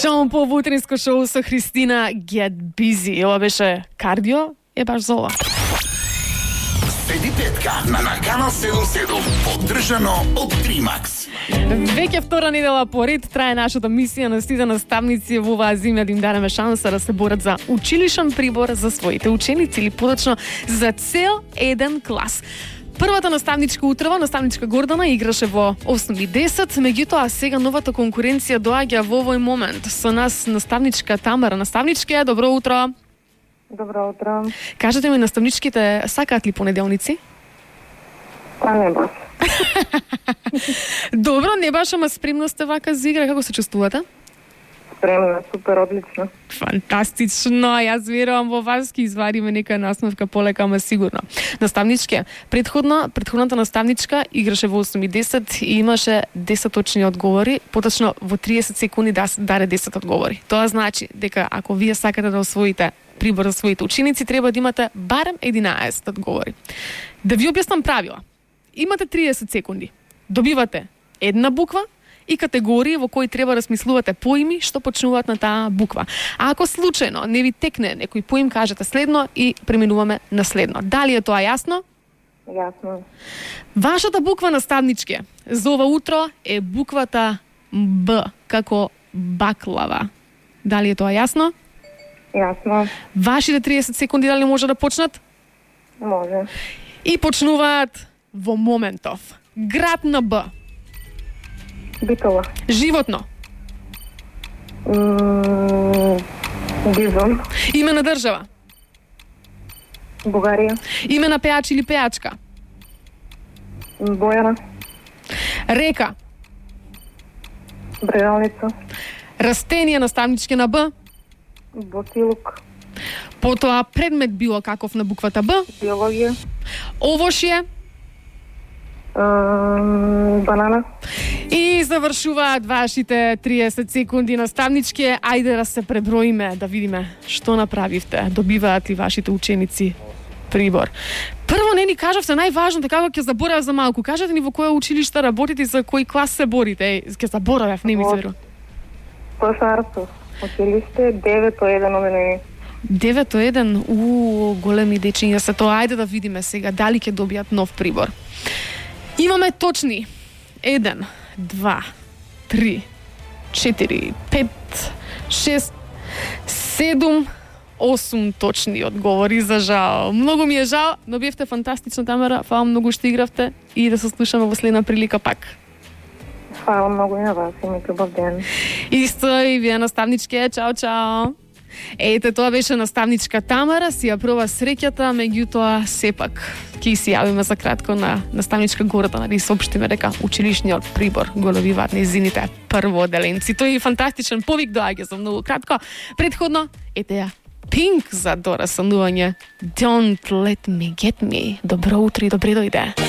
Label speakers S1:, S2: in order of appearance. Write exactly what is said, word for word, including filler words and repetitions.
S1: Шон по утринско шоу со Христина Get Busy. Ова беше кардио, е баш за ова.
S2: Седи петка на Наканал седум седум, поддржано од Тримакс.
S1: Веќе втора недела поред трае нашата мисија на сите наставници во оваа земја да им дадеме шанса да се борат за училишен прибор за своите ученици или подочно за цел еден клас. Првата наставничка утрва, наставничка Гордана, играше во осум и десет, меѓутоа сега новата конкуренција доаѓа во овој момент. Со нас наставничка Тамара. Наставничке, добро утро.
S3: Добро утро.
S1: Кажете ми, наставничките сакаат ли понеделници?
S3: Па не баш.
S1: Добро, не баш, ама спремно сте вака за игра. Како се чувствувате?
S3: Спремна, супер, одлично.
S1: Фантастично, јас верувам во вас, ки извадиме нека насмевка полека, ама сигурно. Наставничке, предходно, предходната наставничка играше во осум и десет и имаше десет точни одговори, поточно во триесет секунди да даде десет одговори. Тоа значи дека ако вие сакате да освоите прибор за своите ученици, треба да имате барем единаесет одговори. Да ви објаснам правила. Имате триесет секунди. Добивате една буква и категории во кои треба да смислувате поими што почнуваат на таа буква. А ако случајно не ви текне некој поим, кажете следно и преминуваме на следно. Дали е тоа јасно?
S3: Јасно.
S1: Вашата буква, наставничке, за ова утро е буквата Б, како баклава. Дали е тоа јасно?
S3: Јасно.
S1: Вашите триесет секунди дали може да почнат?
S3: Може.
S1: И почнуваат во моментов. Град на Б.
S3: Битола.
S1: Животно.
S3: М, Бизон.
S1: Име на држава.
S3: Бугарија.
S1: Име на пеач или пеачка.
S3: Бојана.
S1: Река.
S3: Брегалница.
S1: Растение, наставничке, на Б.
S3: Босилук.
S1: Потоа предмет било каков на буквата Б.
S3: Биологија.
S1: Овошје.
S3: М, Банана.
S1: И завршуваат вашите триесет секунди, наставничке. Ајде да се преброиме, да видиме што направивте. Добиваат ли вашите ученици прибор? Прво не ни кажавте најважното, како ќе заборавам за малку. Кажете ни во кое училиште работите и за кој клас се борите. Еј, ќе заборавев, не ми се верува.
S3: Пошарство. Училиште девет еден оденени.
S1: девет еден, у големи дечиња се тоа. Ајде да видиме сега дали ќе добијат нов прибор. Имаме точни еден, два, три, четири, пет, шест, седум, осум точни одговори, за жал. Многу ми е жал, но бевте фантастична, Тамара. Фала многу што игравте и да се слушаме во следна прилика пак.
S3: Фала многу и на вас, имате убав ден.
S1: Исто и вие, наставничке. Чао, чао. Ете, тоа беше наставничка Тамара, си ја проба среќата, меѓутоа сепак ќе си јавиме за кратко на наставничка Гордана да соопштиме дека училишниот прибор го добиваат нејзините прводеленци. Тој е фантастичен повик доаѓа за многу кратко. Предходно, ете ја Пинк за дора санување Don't Let Me Get Me. Добро утро и добре дојде.